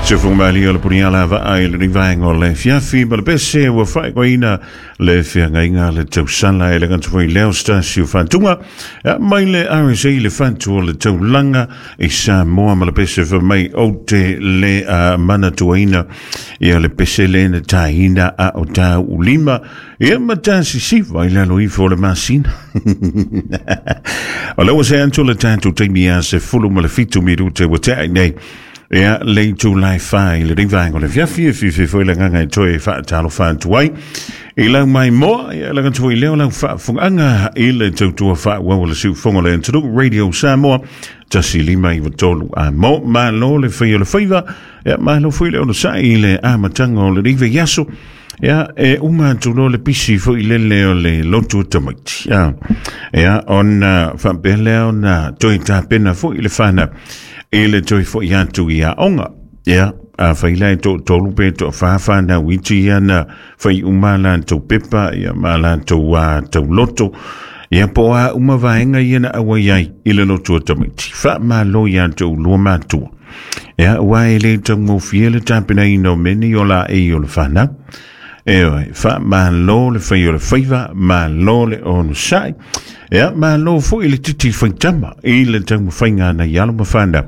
Sofomalia o le puniala vaai i lenei vaega o le afiafi ma le pese ua faaigoaina le feagaiga le tausala e le gata foi lea o se tasi o faatuga mai le RSA le fatu o le taulaga i Samoa ma le pese fai mai ou te le manatuaina ia le pese le na taina a o tau lima ia ma tasisiva i lalo ifo o le masina. O lea ua se atu le tatou taimi ia 17 minute ua tea nei ia le itulai 4 i lenei vaega o le afiafi. E fiafia foi le agaga e toe faatalofa atu ai i lau maimoa ia le gata foi lea o lau faafofogaaga i le tautua faaauau o le siufofoga o le atunuu, Radio Samoa 153 a mo. Malo le fai o le faiva ia, malo foi le onosai i le amataga o lenei vaiaso. Ia, e uma atu loa le pisi foi lele o le lotu tamaiti. Ia, ia ona faapea lea ona toe tapena foi le whanau i le toe foi atu i aoga. Ia, a fai la e toatolu pe toafa whanau iti ia na fai uma latou pepa ia ma latou tauloto. Ia po a uma vaega ia na auai ai i le lotu o tamaiti. Faamalo ia te lua matua. Ia, ua e le taugofie le tapenaina o mea nei o la e o le whanau. E oe, faamalo le fai o le faiva, malo le onosai. Ia, malo foi le titi faitama i le taumafaiga na i alo ma whanau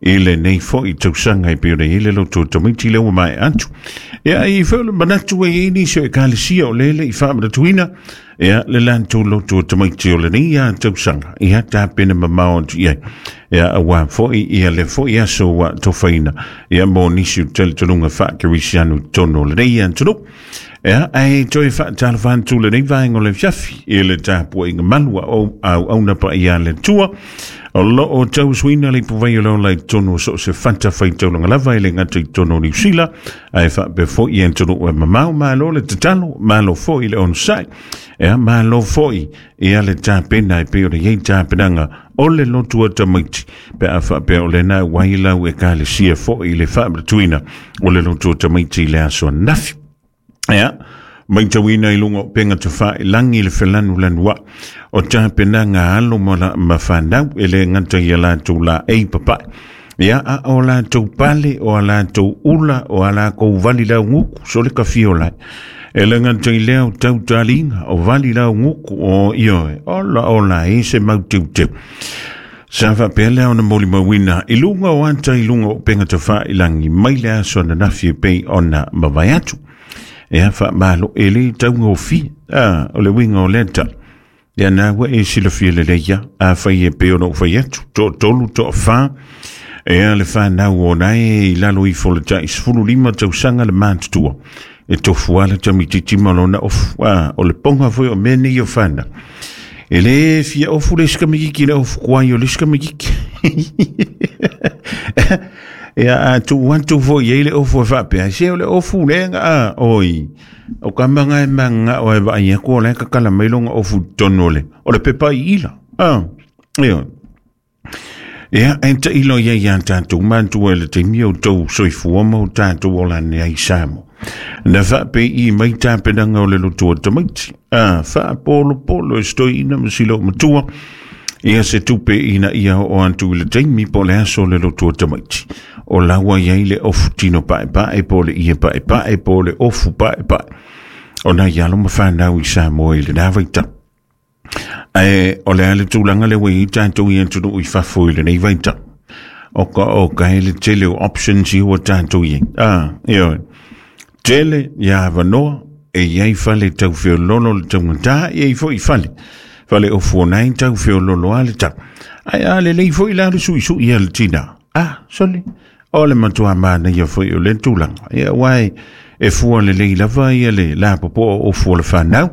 i lenei foi tausaga e pei ona i ai le loto tamaiti lea ua mae atu. Ia, i foi o le manatu e i nisi o ekalesia o lele i faamanatuina ia le latou loto tamaiti o lenei ia tausaga. Ia tapena mamao atu i ai. Ia aua foi ia le foi aso ua tofaina. Ia mo nisi o talitonuga faakerisiano i totonu o lenei atunuu. Ia, ae toe faatalofa atu lenei vaega o le afiafi i le tapuaiga malu a auauna paia a le Atua o lo o tauasuina le ipuvai o le ola i totonu o so o se fatafaitaulaga lava e le gata i totonu o Niu Sila ae faapea foi i atunuu e mamao. Malo le tatalo, malo foi le onosai. Ia, malo foi ia le tapena e pei ona i ai tapenaga o le lotu o tamaiti pe a faapea o lena ua i lau ekalesia foi i le faamanatuina o le lotu o tamaiti i le aso ananafi. Ia, matauina i luga o upega tafailagi le felanulanuai o tapenaga a alo ma fanau e le gata ia latou laei papae. Ia, a o latou pale, o a latou ula, o a lakou vali lauguku, so le kafia o lai. E le gata i lea o tautaliga, o vali lauguku, o ioe, ola ola e se mau teuteu. Sa faapea lea ona molimauina i luga o ata i luga o upega tafailagi mai le aso ananafi e pei ona mavae atu. Ia, faamalo e le taugofie. Ah, o le uiga o lea tala. Ia na ua e silafia lelei ia, a fai e pei ona ou fai atu, toatolu, toafa, ea le whanau o nae i lalo ifo le tai 15 tausaga le matutua. E tofu ala tamititi ma lona ofu. Ah, o le ponga foi o mea nei o whanau. E le fia ofu le isi tamaititi le ofu kuai o le isi tamaititi. Ia a tuu atu foi ai le ofu e faapea, se o le ofu lea a oi. O ka manga e manga o e vaai aku o le kakala mai longa ofu i totonu o le pepa i ila. Ah, ia. Ia, e tailo ia ia tātou matua i le taimi o tou soifua ma o tātou ola nei ai Samoa. Na whaape i mai tapenaga o le lotu o tamaiti. A, faapolopolo e se toeaina ma si matua. Ia se tupe ina ia o atu i le taimi po le aso o le lotu o tamaiti. O laua iai le ofu tino paepae po le ie paepae po le ofu paepae. O nai alo ma whanau i Samoa i le nā vaitau. Ae o le a le tulaga le ua i ai tatou i atunuu i fafo i lenei vaitau. O ka o ka e le tele o options i ua tatou i ai. Ah, ioe. Tele ia avanoa e i ai fale tau feololo le taugata, e i ai foi fale. Fale ofu o nai tau feololo a le tau. Ae a lelei foi la le suisui a le tina. Ah, sole. O le matua manaia foi o le tulaga. Ia uai e fua lelei lava ia le lapopoa o ofu o le whanau.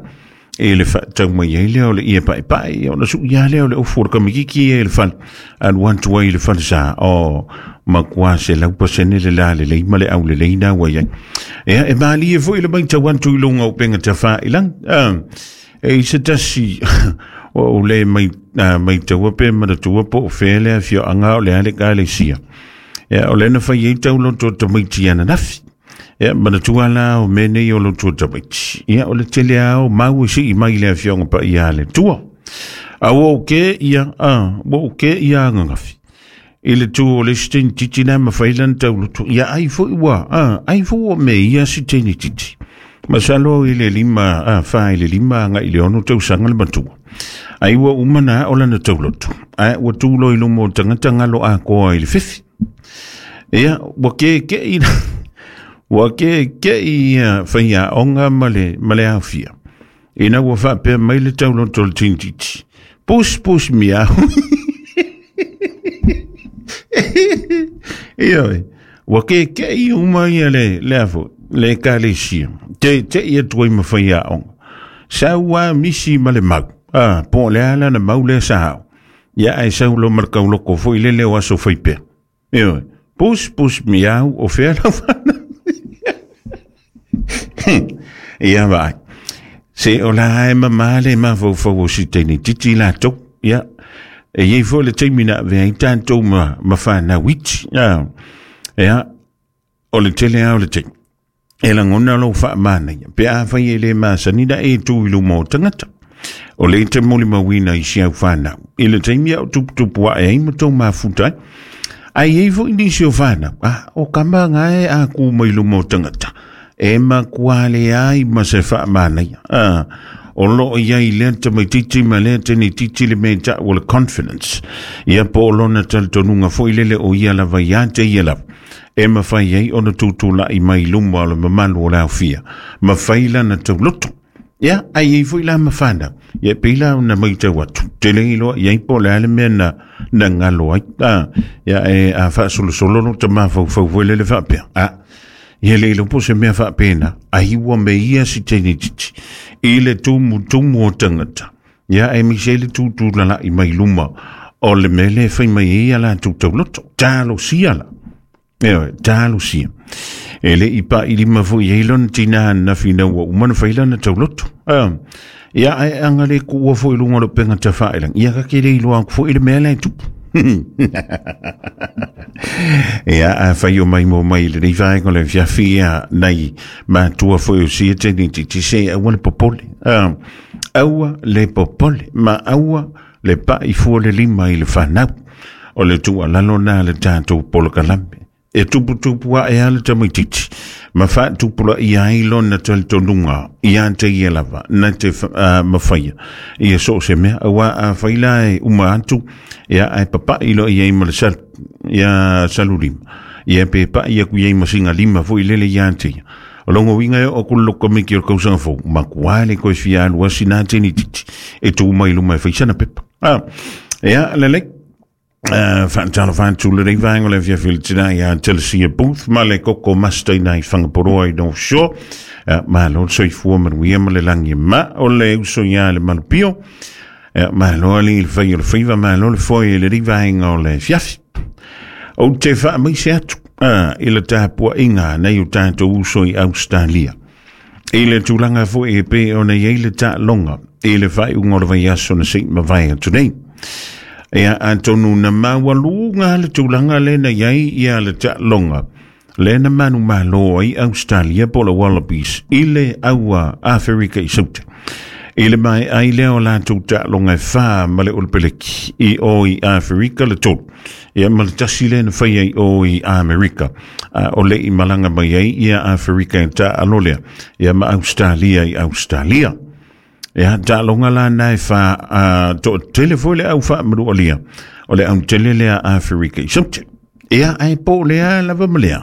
E le whaatau mai ai lea o le ie paepae, ia ona sui a lea o le ofu o le kamititi ia i le fale. Alu atu ai i le fale sa o matua 100% le la lelei ma le au lelei na ua iai. Ia, e malie foi le matau atu i luga o upega tafailagi. Ah, e i se tasi o le mai, maitaua pe manatua po o fea le afioaga o le a le ekalesia. Ia, o le na fai ai tauloto o tamaiti ananafi. Ia, manatua la o mea nei o lotu o tamaiti. Ia, o le tele a o mau e sii mai le afioaga paia a le Atua. A ua ou ke ia, a, ua ou ke ia ananafi. I le tu o le isi teine titi na mafai lana tauloto. Ia ai foi ua, ai foi ua me ia si teine titi. Masalo i le 5, 4 i le 5 agai i le 6 tausaga le matua. Ai ua uma na o lana tauloto. Ae ua tulo i luma o tagata galo atoa i le fefi. Ia, ua kekei ua kekei ia faiaoga ma le aofia. Ina ua faapea mai le tauloto o le teine titi. Pus pus miau. Ia, ua kekei uma ia le afo, le ekalesia. Te te ia tuai ma faiaoga. Sau a misi ma le mau. Po le ala na mau le sa. Ia ai sau lo mar kauloko foi le leo aso fai pea. Ia, pus pus miau o fea la whana. Ia vai. Se o la e mamale ma fau fau o si teine titi la tau. Ia, e iei foi le taimi na avea ai tatou ma whanau iti. Ia, o le tele au le taimi. E lagona lou faamanaia pe afai e lē masani na e tu i luma o tagata. O le te molimauina i si au whanau. I le taimi au tuputupu ae ai ma tau mafuta ai. Ai ei foi nisi o whanau. O kama ngae a ku mai luma o tagata. E makua le ai ma se faamanaia. O loo iai lea tamaititi ma lea tenititi le mea ta'u o le confidence. Ia po o lona talitonuga foi lele o ia lava ia te ia lava. E mafai ai ona tutulai mai luma o le mamalu o le aofia. Mafai lana tauloto. Ia, ai ei foi la mawhana. Ia, pei la na mai tau atu. Te le iloa, ia po le ale mea na ngalo ai. Ia, e a whaasolosolo no te mawhau foi lele whaapea. Ia le iloa po se mea whaapena. Ai ua me ia si teine titi. I le tumu o tangata. Ia, e mise le tūtūlala i mai luma. O le mele whai mai ia la tūtauloto. Talo sia la. Ia, talo sia. E le i pa i lima foi ei lona tina na whina ua umana whaila na tauloto. Ia, ai anga le kua foi lunga lo penga ta whaelang. Ia ka ke le iloa aku foi le mea lai tupu. Ia, a whai o mai mo mai le nei whaenga le fiawhia nei mātua foi o sia tēnei titi se aua le popole. Aua le popole, ma aua le pa i fua le lima i le whanau. O le tua lalo nā le tātou polokalame. E tupu a e ala tamaititi. Ma whaatupula i ai lona talitonuga ia te ia lava, na te mawhaia. Ia so se mea, aua a whaila e uma atu, ia ai papai lo ia i ma le sal, ia salulima. Ia pe pa ia ku ia i masinga lima foi lele ia te ia. O longo winga e o kuloko miki o kausanga fou, ma kuale koe fia alu asina teni titi. E tū mai luma e whaisana pepa. Ia, lele. Whaatalo whaatu le rei vaenga le fia whilitina ia Telesia Booth ma le koko master ina i Whangaporoa i North Shore. Ma lo soifua manuia ma le langi ma o le uso ia le malupio. Ma lo ali le whai o le whiwa ma lo le foi le rei vaenga o le fiafi. O te wha mai se atu i le tāpua inga nei o tātou uso i Australia. I le tūlanga foi e pe o nei ei le tā longa i le whai unga o le vai aso na sei mawai atu nei. Ia atonu na mawaluga le tūlanga le na iai ia le ta'alonga. Le na manu malo ai Australia po le Wallabies i le aua Afrika i Sauta. I le mai ai lea o latou ta'alonga e whā ma le Olopeleki i o i Afrika le tolu. Ia ma le tasi le na whai ai o i Amerika. O le i malanga mai ai ia Afrika e ta'alo lea. Ia ma Australia i Australia. Ia, ta'alonga la nai wha to tele foi le au wha marua lia. O le au tele lea Afrika i Sauta. Ia, ai po lea lava ma lea.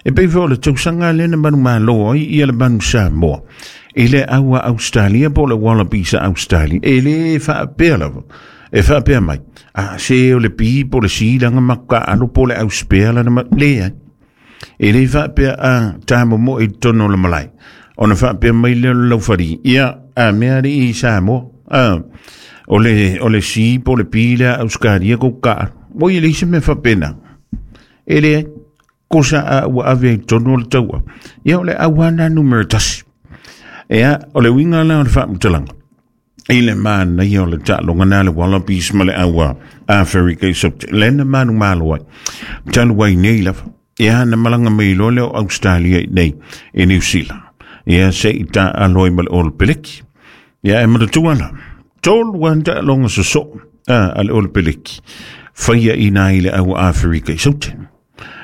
E pei foi o le tausanga le na manu malo ai ia le manu Samoa. I le aua Australia po le Wallabies a Australia. E le whaapea lava. E whaapea mai. Se o le pi po le silanga maka alo po le auspea la na ma le ai. E le whaapea a tāmo mo i tono le malai. O na whaapea mai leo le lauwhari. Ia, a mea re i Samoa. O le si po le pi lea Australia ko ka. O i le isi me whapena. E le kosa a ua ave i tono le taua. Ia o le awana numero tasi. Ia, o le winga la o le whamutalanga. I le mana ia o le ta'alonga nā le Wallabies ma le aua Afrika i Saute. Le na manu malo ai. Talu ai nei lava. Ia na malanga mai loa leo Australia i nei i New Zealand. Ia se i ta'alo ai ma le Olopeleki. Ia e manatua la. Tolu an ta'alonga soso a le Olopeleki. Faia ina i le au Aferika i Saute.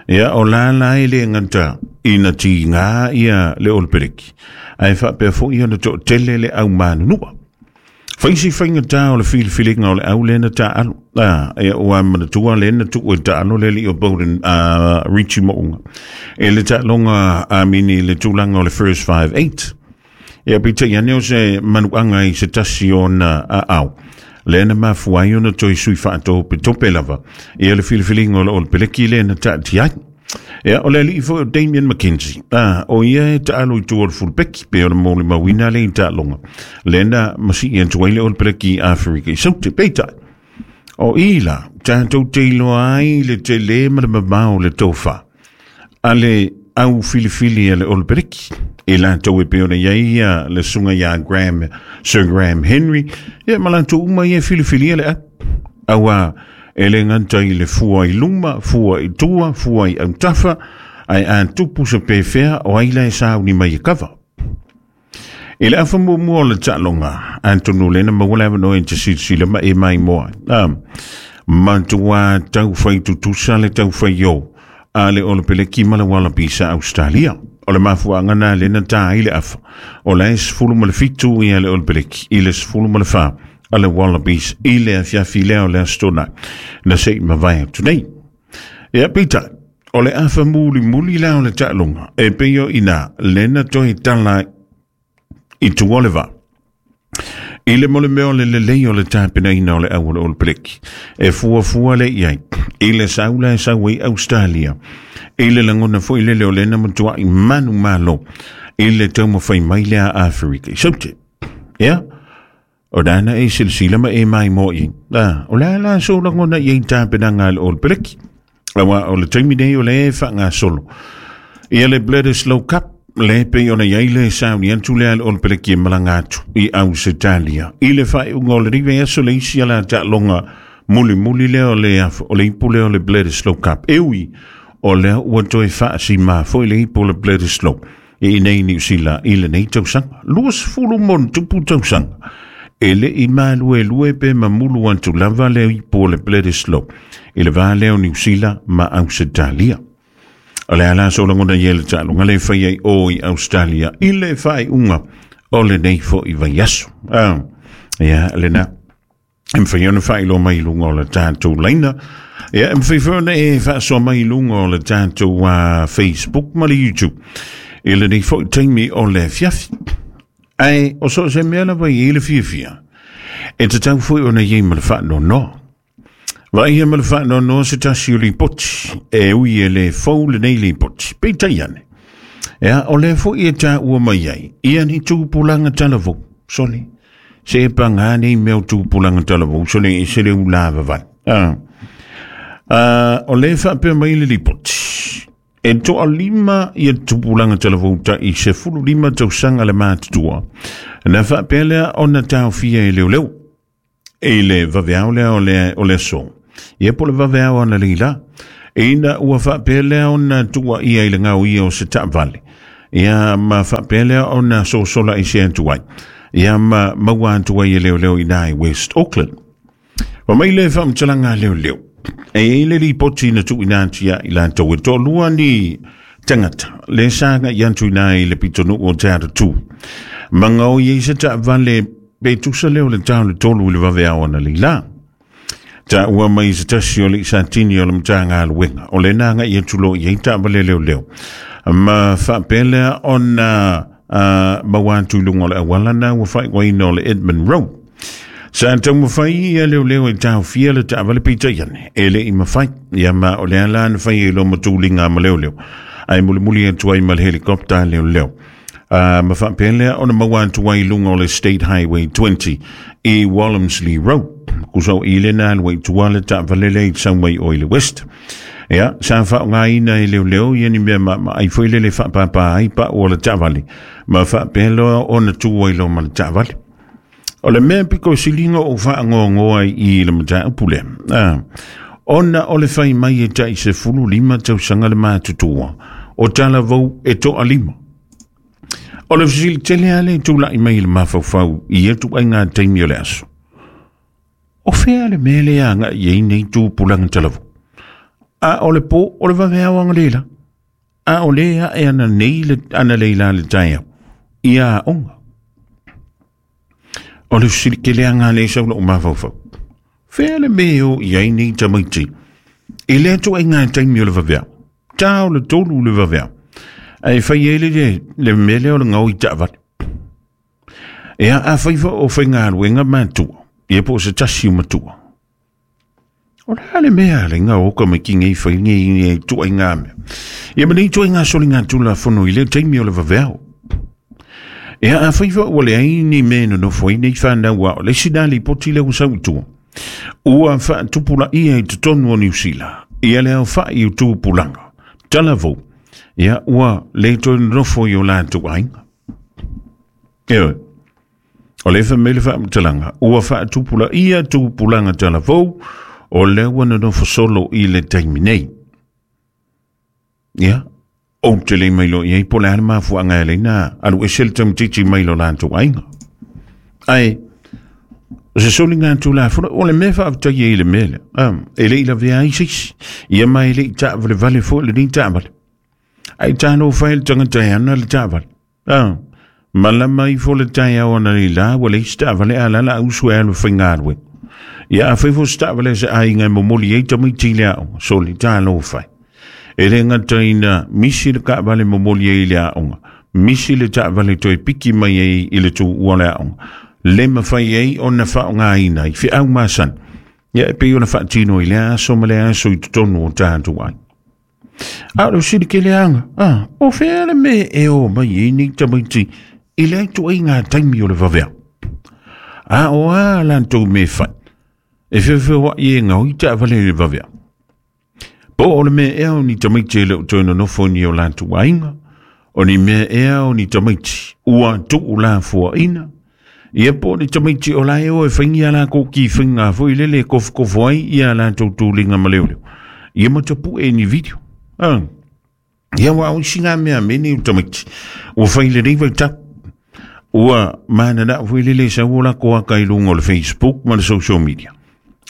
Ia o la la e le gata ina tiga ia le Olepeleki, ae faapea foi ona toatele le au manunua. Faisi faigata o le filifiliga o le au lea na taaalo. Ia ua manatua lea na tuu e taalo le alii o Bowden, Richie Mo'unga, i le taaloga amini i le tulaga o le First 5-8. Ia peitai ane o se manuaga i se tasi o ona aao, lea na mafua ai ona toe sui faatopetope lava ia le filifiliga o le Olepeleki lea na taatia ai. Ia, o le alii foi o Damien McKenzie, o ia e taalo i tua o le fulupeki, pe o le molimauina le i taaloga, lea na masii atu ai le Olepeleki i Aferika i Saute. Peitai, o i la, tatou te iloa ai le tele ma le mamao o le tofa a le au filifili a le Olepeleki. I latou e pei ona i ai ia le susuga ia Graham, Sir Graham Henry, ia ma latou uma ia e filifilia le au. Aua e le gata i le fua i luma, fua i tua, fua i autafa, ae a tupu se pefea, o ai la e sauni mai e kava. I le afa muamua o le taaloga, atonu lea na maua le avanoa e te silasila ma e maimoa. Matua taufai tutusa le taufai o a le Olepeleki ma le Wallabies a Australia. O le mafuaaga na lea na ta ai le afa, o la e 17 ia le Olepeleki i le 14 a le Wallabies i le afiafi lea o le Aso Toonai na se i mavae atu nei. Ia peitai, o le afa mulimuli la o le taaloga, e pei o ina lea na toe tala i tua o le vaa. I le mo le mea o le lelei o le tapenaina o le au o le Olepeleki, e fuafua le i ai, i le sau la e sau ai Australia, i le lagona foi lele o lena matuai manu malo, i le taumafai mai lea a Aferika i Saute. Ia, o lana e silasila ma e maimoa i ai. O le a la sou lagona i ai tapenaga a le Olepeleki? Aua o le taimi nei o le e faagasolo ia le Bledisloe Cup, le pei ona i ai le sauni atu lea a le Olepeleki e malaga atu i Ausetalia i le faaiuga o le vaiaso le isi ala taaloga mulimuli lea o le o le ipu lea o le Bledisloe Cup. E ui o lea ua toe faasima foi le ipu o le Bledisloe i nei Niu Sila i lenei tausaga. 20 mo tupu tausaga. E le i maluelue pe mamulu atu lava le ipu o le Bledisloe i le va lea o Niu Sila ma Ausetalia. O le ala so lagona i le taaloga le fai ai o i Australia i le faaiuga o lenei foi vaiaso. Ia, lena. E mawhai ona whailo mai lunga o le tātou laina. Ia, e mawhai foi ona e whaasoa mai lunga o le tātou Facebook ma le YouTube. I lenei foi taimi o le afiafi. Ae, o so se mea lava i le fiafia. E tatau foi ona iai ma le faanoanoa. Vaai ma le faanoanoa se tasi o lipoti. E ui e le fou lenei lipoti. Peitai ane. Ea, o lea foi e tāua mai ai. Ia ni tupulaga talavou. Sole. Se e pagā nei mea o tupulaga talavou. Sole, e se le ula vavai. O lea faapea mai le lipoti. E 15 ia tupulaga talavou tai 15 tausaga le matutua. Na faapea lea ona taofia e leoleo. I le vaveao lea o le aso. Ia po le vaveao ana leila. Ina ua faapea lea ona tuua ia i le ngao ia o se taavale. Ia ma faapea lea ona sosola i se atu ai. Ia ma maua atu ai e leoleo i nai West Auckland. Wa mai le faamatalaga a leoleo. E i le lipoti na tuuina atu ia i latou e toalua ni tagata le sa agai atu i nai le pitonuu o Te Atatū. Ma gaoi ai se taavale pe tusa lea o le tau le 3 i le vaveao ana leila. Taua mai se tasi o le isatini o le Matagaluega o lena agai atu loa i ai taavale leoleo. Ma faapea lea ona maua atu i luga o le auala na ua faaigoaina o le Edmund Road. Sa taumafai ia leoleo e taofia le taavale peitai ane, e le i mafai. Ia ma o lea la na fai ai loa ma tuliga ma leoleo. Ae mulimuli atu ai ma le helicopter leoleo. Ma faapea lea ona maua atu ai i luga o le State Highway 20 i Walmsley Road. Kusa o i lena alu ai tua le taavale lea i sau mai o i le West. Ia, sa faaaogaina e leoleo ia ni mea maamaai foi lele faapāpā ai pau o le taavale. Ma faapea loa ona tu ai loa ma le taavale. O le mea piko siliga o faangoangoa ai i le mataupu lea. Ona o le fai mai e tai 15 tausaga le matutua o talavou e 5. O le fesili tele lava le tulai mai i le mafaufau i ia ituaiga taimi o le aso. O fea le mea lea agai ai nei tupulaga talavou. A o le po o le vaveao analeila. A o le ae ana nei le analeila le taeao i aoga. O le fesili le sau lou mafaufau. Fea le mea o i ai nei tamaiti i lea ituaiga taimi o le vaveao. Ta o le 3 le vaveao. Ae fai ai le mea lea o le gaoi taavale. Ia a fai o faigaluega matua, ia po o se tasi o matua. O le a le mea le ngā o ka mai ki ngei whai ngei ngei tua i ngā mea. Ia ma nei tua i ngā soli ngā tula fono i le taimi o le vaveao. Ia a whai ua le ai ni me no nofo i nei whanau a o le sina li poti le usau tua. Ua whaatupula ia i te tonu o Niu Sila. Ia le au whai o tupulanga. Talavou. Ia ua le toi nofo i o lātou ainga. Ia, o le whamele whaamtalanga. Ua whaatupula ia tupulanga talavou. O le ua nonofo solo i le taimi nei. Ia, o te le mai lo iai po le ana mafuaga e leina alu ese le tamaitiiti mai lo latou aiga. Ae, o se soliga tulafono, o le mea faafetaia i le mea lea. E le i lavea ai se isi. Ia ma e le i taavalevale foi lenei taavale. Ae talofa ai le tagata e ana le taavale. Malama ifo le taeao ana le la, ua leai se taavale a la la ausu e alu e faigaluega. Ia a fai foi se taavale a se aiga e momoli ai tamaiti i le aoga, soli talofa ai. E le gata ina misi le taavale momoli ai i le aoga, misi le taavale toe piki mai ai i le tuua o le aoga, le mafai ai ona faaaogaina i feau masani. Ia e pei ona faatino i le aso ma le aso i totonu o tatou ai. A o le fesili keleaga, o fea le mea e o mai ai nei tamaiti i le ituaiga taimi o le vaveao. A o a latou mea fai, e feofeoai e gaoi taavale i le vaveao. Po o le mea ea o ni tamaiti e le o toe nonofo ni o latou aiga, o ni mea ea o ni tamaiti ua tuulafoaina, ia po o ni tamaiti o la e o e faigi a lakou kifiga foi lele e kofokofo ai ia latou tuliga ma leoleo. Ia matapue ni video. Ia ua o isi ngā mea me nei o tamaiti. Ua fai lenei vaitau. Ua mananao foi lele sau o lako aka i luga o le Facebook ma le social media.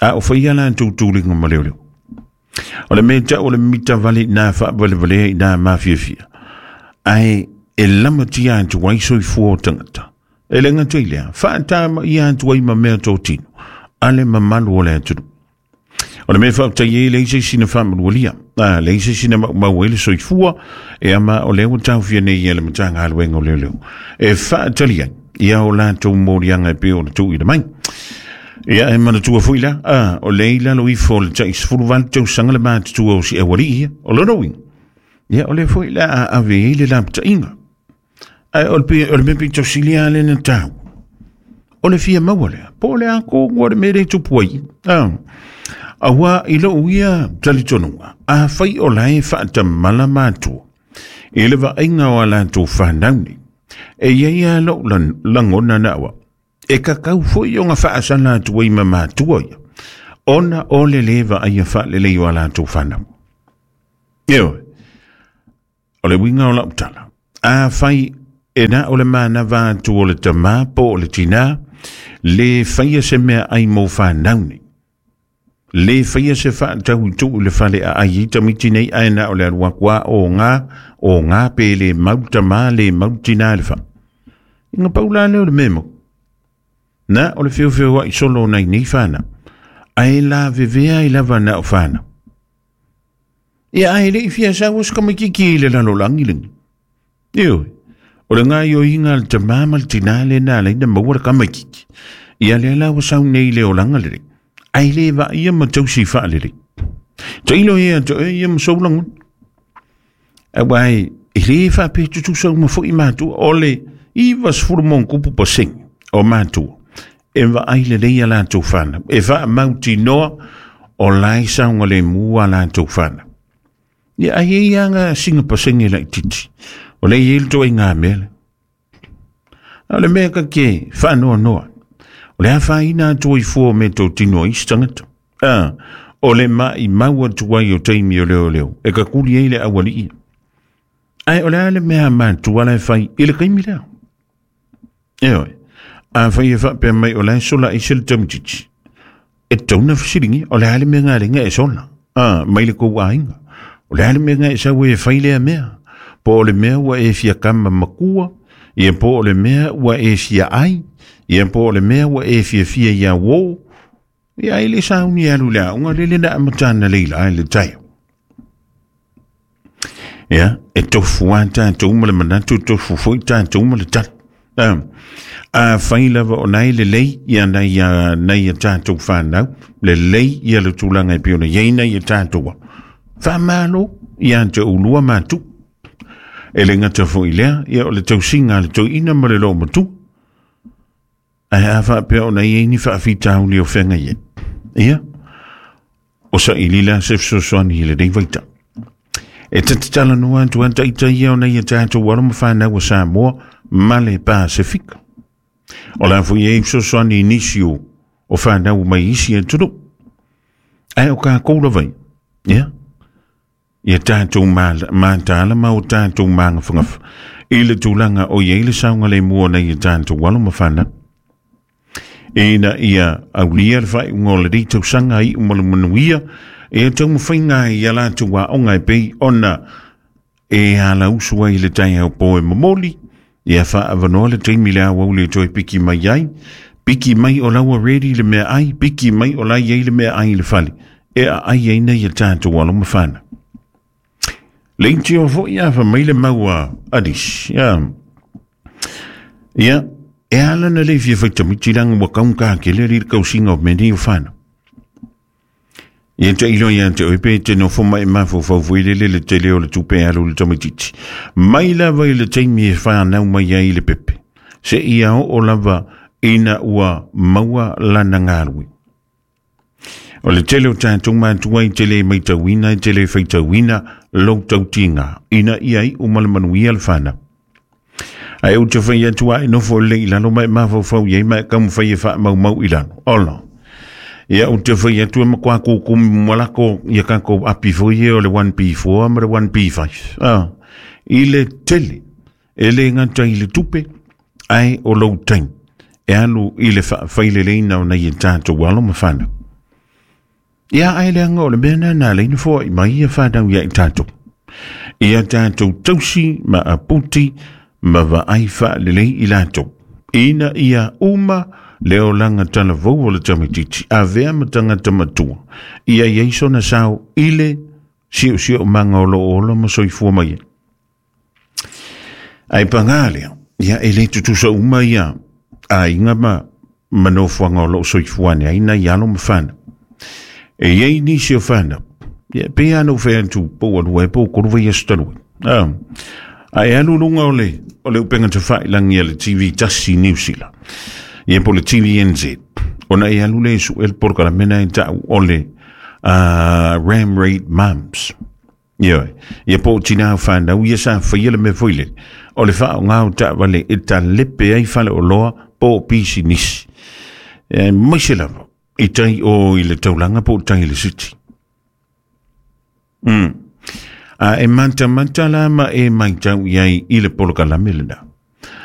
A o fai a latou tuliga ma leoleo. O le mea tau o le mita vale nā faavalevalea i nā mafiafia. Ae e lamatia atu ai soifua o tagata. E le gata i lea, faatama ia atu ai ma mea totino, a le mamalu o le atunuu. O le mea faafetai ai leai se isi na faamanualia. Leai se isi na maumau ai le soifua, e ama o lea ua taofia nei e le Matagaluega o Leoleo. E faatali ai ia o latou moliaga e pei ona tuuina mai. Ia e manatua foi la, o lea i lalo ifo o le tai 18 tausaga le matutua o si aualii ia, o lona uiga. Ia o lea foi la a ave ai le lapataiga. Ae o le mea pito sili lava lea na taua. O le fia maua lea, po o le a tonu o le mea lea e tupu ai. Aua i lou ia talitonuga, afai o la e faatamala matua i le vaaiga o a latou fanau nei, e i ai lava lou lagona na au, e kakau foi ona faasala atu ai ma matua ia, ona o le lē vaaia faalelei o a latou fanau. Ioe, o le uiga o lau tala, afai e na o le manava atu o le tamā po o le tinā, le faia se mea ai mo fanau nei. Le faia se faatau i tuu i le fale a ai i tamaiti nei ae na o le alu atu a o ngā pe le mau tamā le mau tinā le fale. Inga pau la lea o le mea mau. Na o le feofeoai solo o nai nei whanau. Ae la vevea i lava na o whanau. Ia ae le i fia sau o se tamaitiiti i le lalolagi lenei. Ioe, o le gaoioiga a le tamā ma le tinā lea na ala ai na maua le tamaitiiti. Ia lea la ua sau nei i le olaga lelei. Ae le vaaia ma tausi faalelei. Tailo ia te oe ia ma sou lagona. Aua e le faapea tutusa uma foi matua. O le 90% o matua e vaai lelei a latou fanau. E faamautinoa o la e saogalemu a latou fanau. Ia ai e ia nga singa pasenge laitiiti. O le i ai le ituaiga mea lea. A o le mea ka ke faanoanoa. O le afaina atu ai fua o mea totino a isi tagata. O le maimau atu ai o taimi o leoleo e kakuli ai le aualii. Ae o le a le mea matua la e fai i le taimi lea. Ioe, afai e faapea mai o la e sola aise le tamaitiiti. E tatau ona fesiligia, o le a le mea na ala ai ona e sola, mai le kou aiga? O le a le mea na e sau ai e fai lea mea? Po o le mea ua e fia kama makua, ia po o le mea ua e fia ai, ia po o le mea ua e fiafia ia uō, ia ai le sauni e alu i le aoga lele na amata analeila ai le taeao. Ia, e tofu lava tatou ma le manatu, e tofu foi tatou ma le tala. Afai lava o na e lelei ia nai a nai a tatou whanau, lelei ia le tulaga e pei ona i ai nai a tatou alo. Faamalo ia te oulua matua. E le gata foi i lea, ia o le tausiga a le toeaina ma le loomatua. Ae a faapea ona i ai ni faafitauli o feagai ai, ia, o saili la se fesoasoani i lenei vaitau. E ta te talanoa atu lava ita ia o nai a tatou alo ma fanau a Samoa ma le Pasefika. O la foi e i ai fesoasoani i nisi o fanau mai isi atunuu. Ae o kākou lava ia, ia, ia tatou mataala ma o tatou magafagafa i le tulaga o i ai le saogalemu o nai a tatou alo ma fanau. Ina ia aulia le faaiuga o lenei tausaga iu ma le manuia, e taumafaiga ai ia latou aoga e pei ona e alausu ai le taeao po e momoli, ia faaavanoa le taimi i le aoauli e toe piki mai ai, piki mai o la ua ready le meaai, piki mai o la e i ai le meaai i le fale, e aai ai nei a tatou alo ma fanau. Leitio foi a fa mai le mau a nisi. Ia, e ala na le fia fai tamaiti leaga ua kaugata tele alii le tausiga o mea nei o fanau. Ia tailo ia te oe pe te nofo mai mafaufau foi lele le tele o le tupe e alu i le tamaitiiti. Mai lava i le taimi e fanau mai ai le pepe, seia oo lava ina ua maua lana galue. O le tele o tatou matua i te le matauina, i te le faitauina lou tautiga, ina ia iu ma le manuia le fanau. Ae ou te fai atu a e nofo lelei i lalo ma e mafaufau i ai ma e taumafai e faamaumau i lalo. Ola. Ia ou te fai atu e matua kukumi malako ia tatou api foi ia o le 1P4 ma le 1P5. Ah, i le tele, e le gata i le tupe, ae o lou taimi e alu i le faafaileleiina o nai a tatou alo ma fanau. Ia ae leaga o le mea lena na ala ai ona foai mai ia fanau ia i tatou. Ia tatou tausi ma aputi ma vaai faalelei i latou. Ina ia uma le olaga talavou o le tamaitiiti, avea ma tagata matua, ia i ai sona sao i le siosiomaga o lo o ola ma soifua mai ai. Ae paga lea, ia e le tutusa uma ia aiga ma ma nofoaga o lo o soifua ane ai nai alo ma fanau. E i ai nisi o fanau, ia pei lava ona ou fai atu po ua lua ea po ua tolu vaiaso talu ai. Ah, a e alu i luga o le, o le upega tafailagi a le TV tasi i Niu Sila, ia po o le TVNZ, ona e alu lea e sue le polokalame lena e tau o le Ram Raid Moms. Ioe, ia po o tinā o whanau ia sa whaia le mea foi lele, o le whaonga o taavale e talepe ai faleoloa po o pisinisi. E maise lava i tai o i le taulaga po o tai i le city. A e matamata la ma e maitau i ai i le polokalame lena.